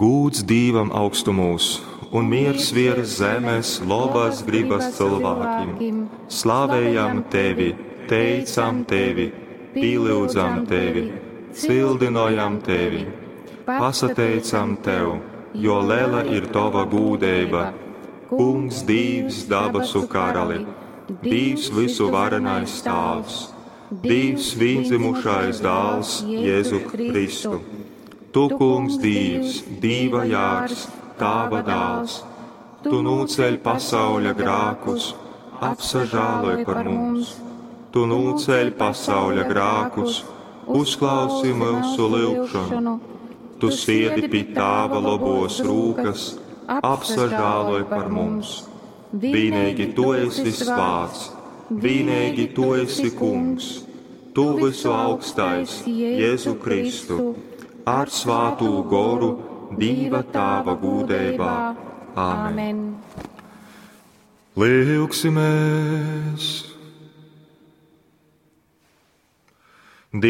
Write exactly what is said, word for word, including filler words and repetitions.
Gūds Dīvam augstumūs un miers viers zemes lobas gribas cilvēkiem. Slavējam tevi, teicam tevi, pīlyudzam tevi, cildinojam tevi, pasateicam tev, jo lela ir tova gūdeiba. Kungs Dīvs dabasu karali, Dīvs visuvarenais Tāvs, Dīvs vīndzimušais dāls Jēzu Kristu. Tu, Kungs Dīvs, Dīva jārs, Tāva dāls, Tu nūceļ pasauļa grākus, apsažāloj par mums. Tu nūceļ pasauļa grākus, uzklausi mūsu lyugšanu. Tu siedi pi Tāva lobos rūkas, apsažāloj par mums. Vienīgi Tu esi svāts, vienīgi Tu esi Kungs, Tu visu augstais, Jēzu Kristu, ar svātū goru, Dīva Tāva gūdeibā. Āmen. Lyugsimies!